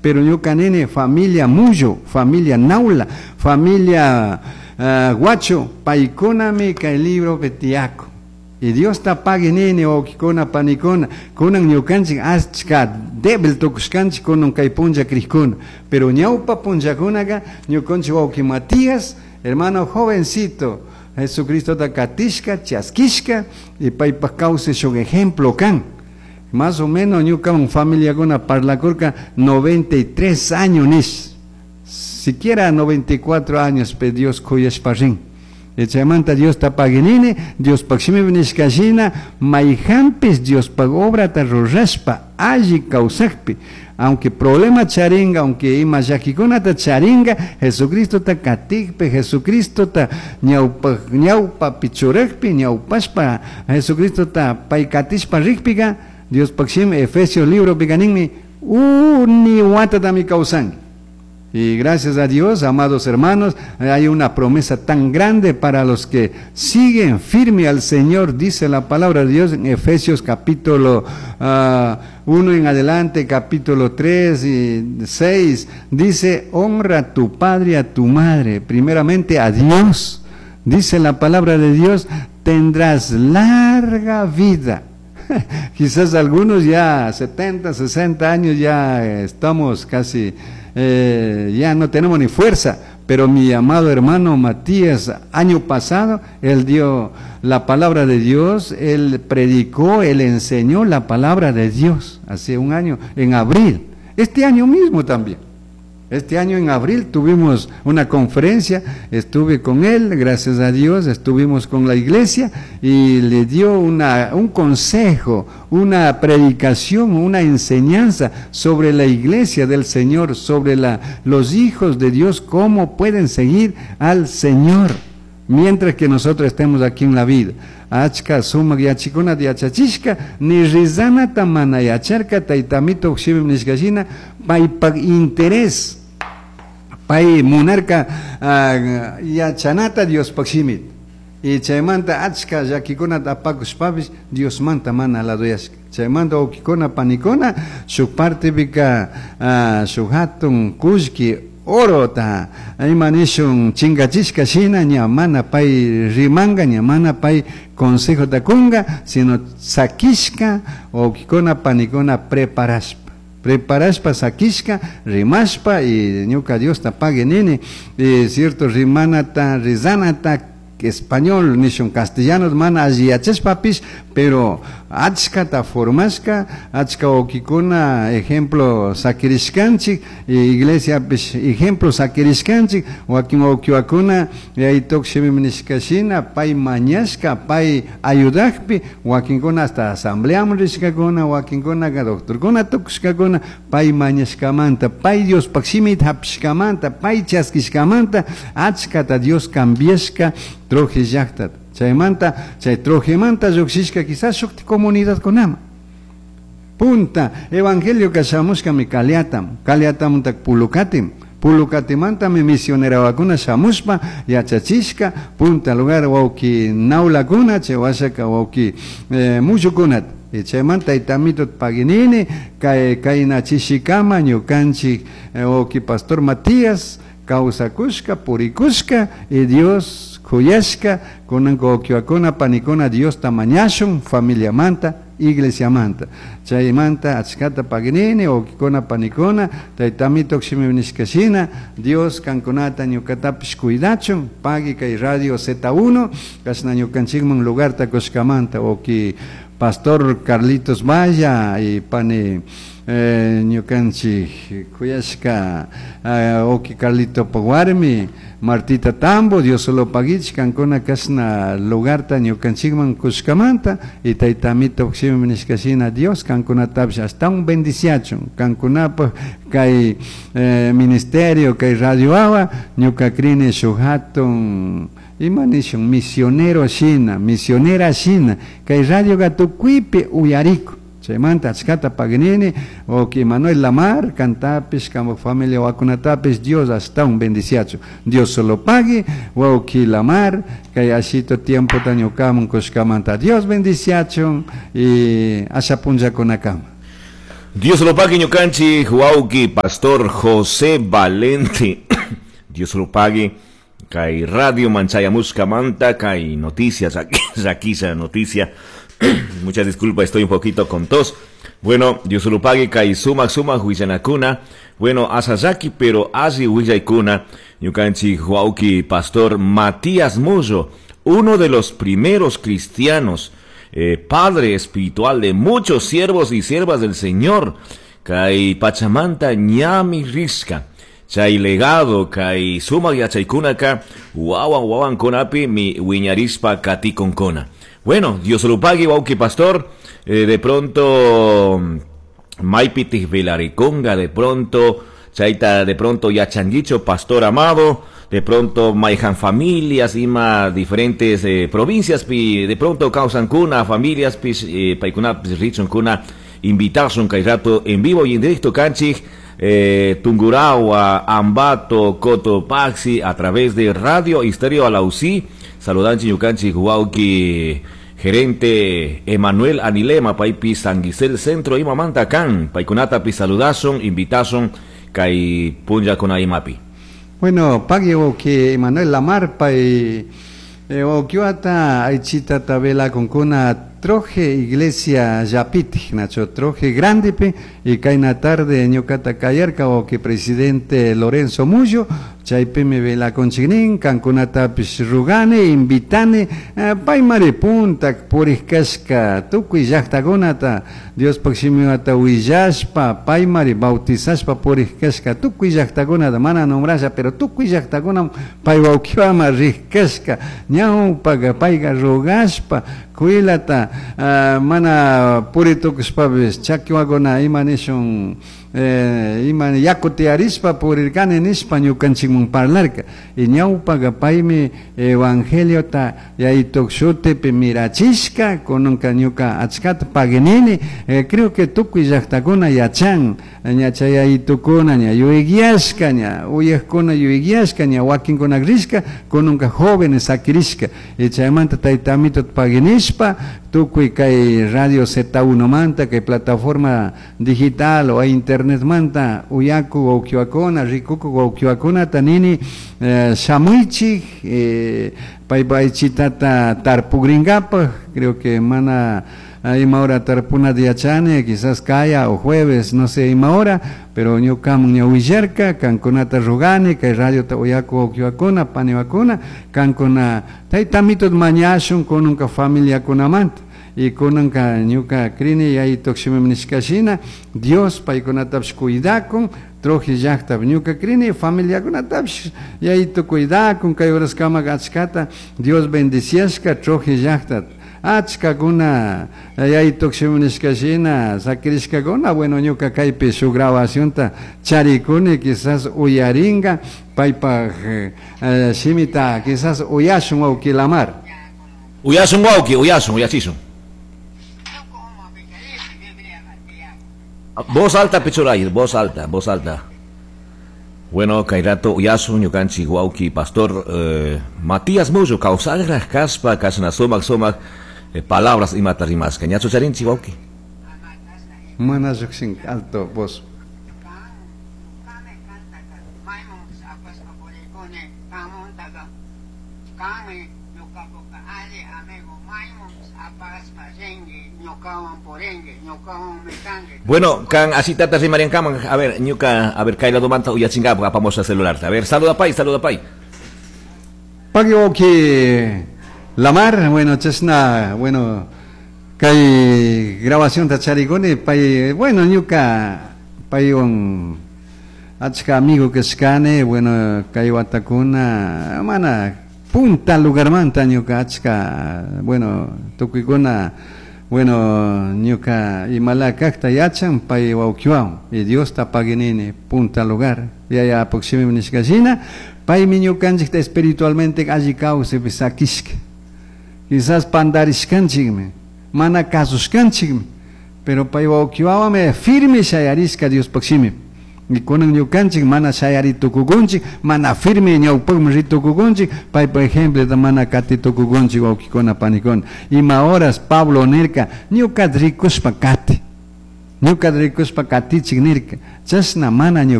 Pero ñuka nini familia Mullo, familia Naula, familia Guacho, paykunami kay libropi tiyakun. Y Diosta pagui nini wawkikuna panikuna, kunan ñukanchik achka débil tukushkanchik kunan kay punlla crijkuna. Pero ñawpa punllakunaka ñukanchik wawki Matías, hermano jovencito, Jesucristota katishka, chaskishka, y paypak kawsay shuk ejemplo kan. Más o menos ñukawan familiakuna parlakurka 93 años nish. Siquiera 94 años pe Dios kuyashpa rin. Y chaymanta Diosta pagui nini, Diospaj shimipi nishka shina, mayjanpish Diospaj obrata rurashpa alli kawsakpi, aunque problema charinga, aunque ima llakikunata charinga, Jesucristota katikpi, Jesucristota ñawpa, ñawpapi churakpi, ñawpashpa Jesucristota pay katishpa rikpika, Diospaj shimi Efesios libropika ninmi, uni watatami kawsanki. Y gracias a Dios, amados hermanos, hay una promesa tan grande para los que siguen firme al Señor, dice la palabra de Dios en Efesios capítulo 1 en adelante, capítulo 3 y 6, dice, honra a tu padre y a tu madre, primeramente a Dios, dice la palabra de Dios, tendrás larga vida. Quizás algunos ya 70, 60 años ya estamos casi, ya no tenemos ni fuerza, pero mi amado hermano Matías, año pasado, él dio la palabra de Dios, él predicó, él enseñó la palabra de Dios, hace un año, en abril, este año mismo también. Este año en abril tuvimos una conferencia, estuve con él, gracias a Dios, estuvimos con la iglesia y le dio un consejo, una predicación, una enseñanza sobre la iglesia del Señor, sobre los hijos de Dios, cómo pueden seguir al Señor mientras que nosotros estemos aquí en la vida. Achka sumak yachikuna yachachishka ni rizanata mana yacharka taytamito shimi nishka shina paypak interés pay munarka yachanata Diospaj shimita. Y chaymanta achka llakikunata apakushpapish Diosmanta mana ladoyashka. Chaymanta wawkikuna panikuna shuk partepika shuk hatun kullki orota ima nishun chingachishka shina ña mana pay rimanga, ña mana pay consejota kunga, sino sakishka wawkikuna panikuna preparashpa. Preparashpa sakishka, rimashpa y ñuka Diosta pague nini, y cierto rimanata, rizanata, español, nishun castellano, mana alli yachashpapish, pero achkata formashka, achka wawkikuna ejemplo sakirishkanchik, y iglesiapish ejemplo sakirishkanchik, wakin wawkiwakuna yaytok shimi nishka shina, pay mañashka, pay ayudakpi, wakinkuna hasta asambleaman rishkakuna, wakinkunaka doctorkuna tukushkakuna, pay mañashkamanta, pay Diospaj shimita hapishkamanta, pay chaskishkamanta, achkata Dios cambiashka Troje llaqtata. Chaymanta, chay Trojemanta lluqshishka quizás shuk comunidadkunama. Punta, evangelio kashamushkami Kaliatam, Kaliatamuntak Pulucatim, Pulucatimantami misionerawakuna shamushpa yachachishka, punta lugar wawki naulakuna, chay washaka wawki mushukunata. Y chaymanta taytamito paginini, kay kayna chishikama ñukanchik wawki pastor Matías, kawsakushka, purikushka, y Dios kuyashka, kunan wawkiwakuna panikuna Diosta mañashun, familiamanta, iglesiamanta. Chaymanta achkata paginini, wawkikuna panikuna, taytamito shimi nishka shina, Dios kankunata ñukatapish cuidachun, pagui kay radio Z1, kashna ñukanchikman lugarta kushkamanta, wawki pastor Carlitos Maya y pani ñukanchik kuyashka wawki Carlito warmi, Martita Tambo, Dios solo paguich, kankuna kashna lugarta ñukanchikman kushkamanta, y taytamito shimi nishka shina, Dios kankunatapish hasta un bendiciachun, kankunapaj kay ministerio, kay radio awa, ñuka krini shuk hatun ima nishun misionero shina, misionera shina, kay radio tukuypi uyariku. Chaymanta achkata paginini, wawki Manuel Lamar, kantapish, kanpak familia wakunatapish, Dios hasta un bendiciacho. Dios solo pagui, wawki Lamar, kay ashito tiempo ñukaman kushkamanta. Dios bendiciachun y asha punllakunakama. Dios lo pague ñukanchik wawki pastor José Valente. Dios lo pague. Kay radio manchayamushkamanta kay noticias, llakisha noticia. Muchas disculpas, estoy un poquito con tos. Bueno, Dios lo pague kay sumak sumak willanakuna. Bueno, asallaki pero alli willaykuna. Ñukanchik wawki pastor Matías Mullo, uno de los primeros cristianos, padre espiritual de muchos siervos y siervas del Señor, kay pachamanta ñami rishka, chay legado kay sumak yachaykunaka wawan wawankunapi mi wiñarishpa katikunkuna. Bueno, Dios lo pague, wawki pastor, de pronto maypitik velarikunga, de pronto chayta, de pronto yachanguicho, pastor amado, de pronto mayhan familias ima diferentes provincias pi, de pronto kawsankuna familias pis, paykunapis richunkuna invitasun kay rato en vivo y en directo kanchik, Tungurahua, Ambato, Cotopaxi, a través de Radio Estéreo Alausí. Saludanchi ñukanchik wawki gerente Emanuel Anilema, paypi San Gisel Centro imamanta kan, paykunatapi saludasun, invitasun kay punllakuna imapi. Bueno, pagui wawki Emanuel Lamar, pay wawkiwata aychita tabela kunkuna Troje Iglesia Yapit, Nacho Troje Grandepe, y kayna tarde ñuqata kayarka wawki presidente Lorenzo Mullo, chaypimi velakunchiknin, kankunatapish rugani, invitani, paymari punta purishkashka tukuy llaqtakunata Diospaq shimiwata willashpa, paymari bautizashpa purishkashka tukuy llaqtakunata, mana nombrasha, pero tukuy llaqtakuna pay wawkiwama rishkashka, ñawpaqa payqa rugashpa, kuylata, mana puritukushpapis chakiwakuna ima nishun, ima yaku tiyarishpa purirkani nishpa ñukanchikman parlarka. Y ñawpaqa paymi evangeliota yaytuk shutipi mirachishka, kunanka ñuka achkata paginini, creo que tukuy llaqtakuna yachan, ña chay yaytukuna ña yuyayashka, ña uyajkuna yuyayashka, ña wakinkuna rishka, kunanka jóvenes sakirishka. Y chaymanta tayta amito paginishpa, tukuy kay Radio Z1 manta, kay plataforma digital o internet manta, uyaku wawkiwakuna, rikuku wawkiwakunata nini, shamuychik, paypa aychitata tarpugrinkapaj, creo que mana ima hora tarpunata yachani, quizás kaya o jueves, no sé ima hora, pero ñukaman ña willarka, kankunata rugani, kay radiota uyaku wawkiwakuna, paniwakuna, kankuna tayta amito mañashun kunanka familiakunamanta. Y kunanka ñuka krini yaytuk shimimi nishkashina, Dios paykunatapish cuidakun, Troje llaqtapi ñuka krini familiakunatapish yaytu cuidakun, kay horaskama achkata Dios bendiciashka Troje llaqtata. Achkakuna yaytuk shimi nishkashina sakirishkakuna, bueno, ñuka kaypi shuk grabacionta charikuni, quizás uyaringa paypaj, shimita quizás uyashun wawki Lamar. Uyasun wawki, uyasun, uyachisun. Voz alta, Pichuray, voz alta, voz alta. Bueno, kayrato uyasun ñukanchik wawki pastor, Matías Mullo, kawsaqraq kaspa, kashna sumak sumak, palabras imata rimasqa. Ñachu charinchik wawki? Mana lluqshin alto voz. Bueno, kan así tata rimarian kaman, a ver, ñuka, a ver, kayla domanta uyachingap, apamos a celular. A ver, saluda pay, saluda pay. Pagui wawki Lamar, bueno, chashna, bueno, kay grabación tacharikuni, pay, bueno, ñuka, paywan achka amigo kashkani, bueno, kay watakuna, mana, punta lugarmanta ñuka achka, bueno, tukuykuna, bueno, ñuka imala kaqta yachan, pay wawkiwan, y Dios ta paginini, punta lugar, yaya apoximi nishkashina, paymi ñukanchikta espiritualmente alli kawsaypi sakishka. Quizás pandarishkanchikmi, mana kasushkanchikmi, pero pay wawkiwawami firme shayarishka Diospaq shimi. Y kunan ñukanchik mana shayari tukukunchik, mana firme ñawpaqman ritukukunchik, paypa ejemplota mana kati tukukunchik wawkikuna panikuna. Ima horas Pablo nirka, ñuka rikushpa kati. Ñucata ricushpa catichij nirca. Chashna mana.